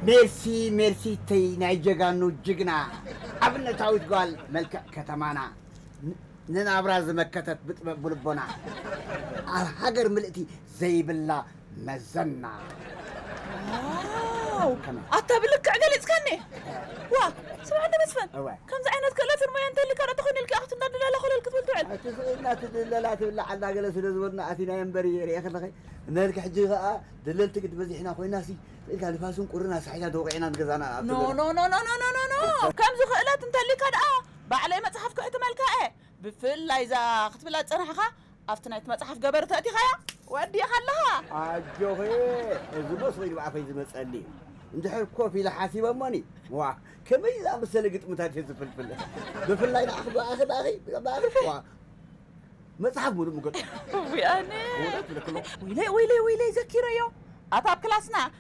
ሜርሲ ሜርሲተይ ናይ ጀጋኑ ጅግና ኣብነታዊት ጓል መልክዕ ከተማና ንናብራ ዝመከተት ብጥበብ ብልቦና ኣብ ሃገር ምልእቲ ዘይብላ መዘና። ዋው ኣታ ብልክዕ ገሊፅካኒ። ዋ ስምዓ እንተ መስፍን፣ ከምዚ ዓይነት ክእለትን ሞያን እንተሊካ ዶ ተኾይኑ ኢልካ ክትንዳድለላ ኮለል ክትብል ትውዕል። እቲ ስእልና ትድለላ ትብላ ዓላ ገለ ስለ ዝበሉና ኣቲና እምበር እየ ርኤ ከለኸ። ነልካ ሕጂ ከኣ ደለልቲ ግዲ በዚሕና ኮይናሲ ኢልካ ንፋስን ቁርን ኣሳሒታ ተወቂዕና ንገዛና ኖ ኖ ኖ ኖ ኖ ኖ ኖ ከምዚ ክእለት እንተሊካ ደኣ ባዕለይ መፅሓፍ ክሕትመልካ እየ። ብፍላይ እዛ ክትብላ ዝፀናሕኻ ኣብቲ ናይቲ መፅሓፍ ገበር ተእቲኻያ ወዲእኻ ኣለኻ። ኣጆኺ እዚ መስሎ ንባዕኸይ ዝመፀኒ እዩ። እንድሕር ኮፍ ኢለ ሓሲበ እሞኒ ዋ ከመይ ዝኣመሰለ ግጥምታት እየ ዝፍልፍል። ብፍላይ ንዓኺ ብኣኺ ብኣኺ ብኣኺ ዋ መፅሓፍ ሙሉእ ምገጥ ውያነ እውነት ብለክሎ ወይለይ ወይለይ ወይለይ ዘኪረዮ ኣታ ኣብ ክላስና